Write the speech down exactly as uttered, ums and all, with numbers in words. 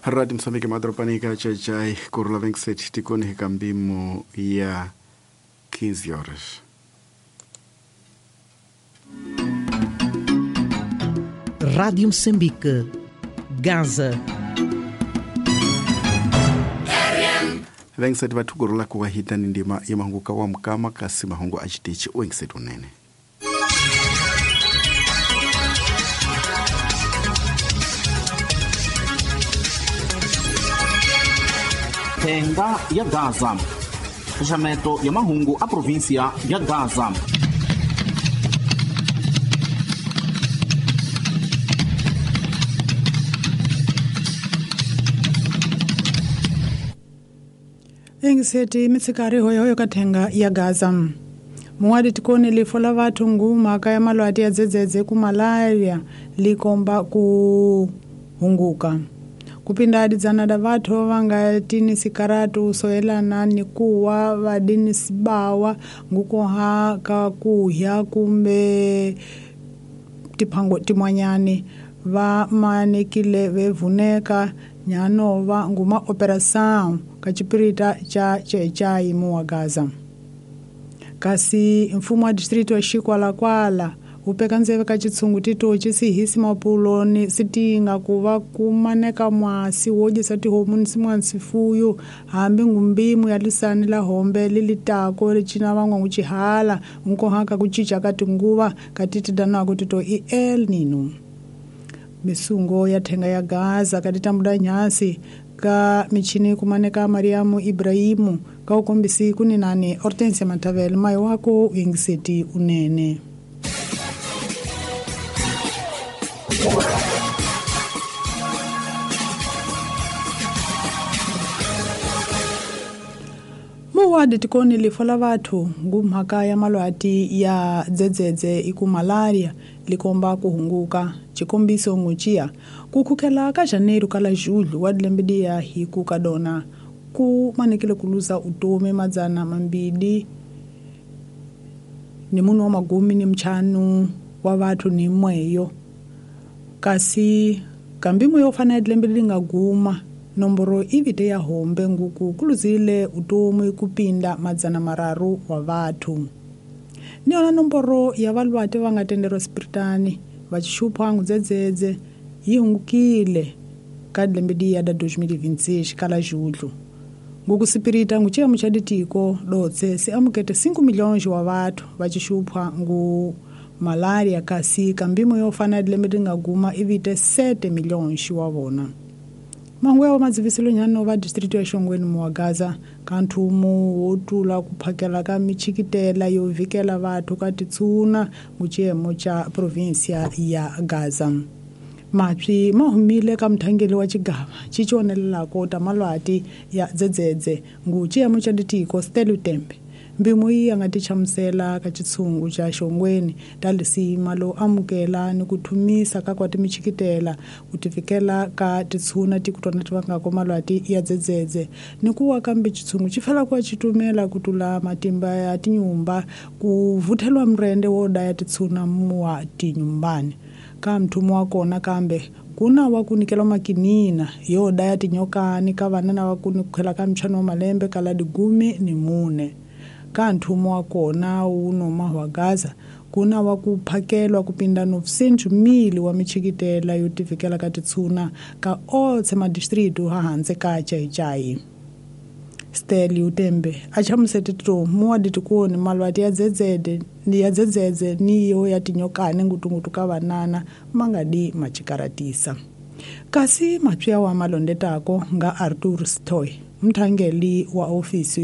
Radio Mozambique madorobani ka Chachai kurula vinte e sete tikoni kambimo ya quinze horas. Rádio Moçambique, Gaza. vinte e sete vathukurula kuwahita ni ndima ya mahungu wa mukama kasi mahungu a xitichi u vinte e sete unene. Thenga ya Gaza. Xaxameto ya mahungu a província ya Gaza. Engiseti mitsikari hoyohoyo ka thenga ya Gaza. Muwadi tikoni lifo la vathu ngumhaka ya malwati ya dzedzedze ku malaria likomba ku hunguka. Kupinda adidzana da vathu va nga tini sikaratu soyelana ni kuwa va dini sibawa ngukoha ka kuhya kumbe tiphango timwanyani va manekile vevuneka nyanova nguma operação ka chipirita cha Chechai muwa Gaza. Kasi mfumo wa distrito wa Chikwalakwala upeka ndzeve ka chitsungu tito chisihisi mapulo ni sitinga kuva kumaneka mwasi wodyisa tihomu ni simwana sifuyo hambi ngumbimu ya lisani la hombe lilitako licina van'wa nguchihala nkohaka kuchicha ka tinguva ka titidanako tito i El Nino. Misungo ya thenga ya Gaza ka titambuda nyasi ka michini kumaneka Mariamu Ibrahimu ka ukombisi kuninani Hortensia Matavel mai wako ingiseti unene. Muwadi tikoni lifo la vathu ngumhaka ya malwati ya dzedzedze iku malaria likomba kuhunguka chikombiso nguchia kukhukela ka janeiro kala julho wa dilembe hi ku kadona ku manekile kuluza utomi madzana mambili ni munhu wa magumi ni mchanu wa vathu ni mweyo kasi kambimu yo fana dilembe linga guma nomboro ivite ya hombe nguku kuluzile utomi kupinda madzana mararu wa vathu. Niona nomboro ya valwati va nga tenderwa spiritani va xixupha ngudzedzedze yi hungukile ka lembe ya da dois mil e vinte e seis kala julho. Nguku sipirita nguchiyamo cha ditiko dotse se amukete cinco milhões wa vathu va xixupha ngu malaria kasi kambimo yo fana lembe linga guma ivite sete milhões wa vona. Mangwe wa madziviselo nyano va distrito ya Shongweni muwa Gaza ka nthumu wo tula ku phakela ka michikitela yo vikela vathu ka titsuna nguchiyemo cha província ya Gaza. Mapyi ma humile ka mthangeli wa xigava xi cionelelako ta malwati ya dzedzedze nguchiyemo cha ditiko Stelu Tembe. Mbimu yi ya nga tichamusela ka xitshungu xa Xongweni ta lisima lo amukela ni ku thumisa ka kwa timichikitela ku tifikela ka titshuna tikutwana ti vangako malwati ya dzedzedze ni ku wa kambe xitshungu xi fela ku xitumela ku tula matimba ya tinyumba ku vuthelwa murende wo daya titshuna muwa tinyumbani ka mthumo wa kona kambe kuna wa kunikela makinina yo daya tinyokani ka vana na wa kunikela ka mchano wa malembe kala digumi ni mune. Ka nthumo wa kona wu noma wa Gaza kuna wa ku phakelwa kupinda novecentos mil wa michikitela yo tivikela ka titshuna ka otse madistrito ha hanze ka Chaichai. Steli Utembe a chamusete to muwa ditikoni malwati ya dzedzede ni ya dzedzedze ni yo ya tinyokani ngutungutu ka vanana mangadi machikaratisa. Kasi mapya wa malondetako nga Arthur Stoy mthangeli wa ofisi ya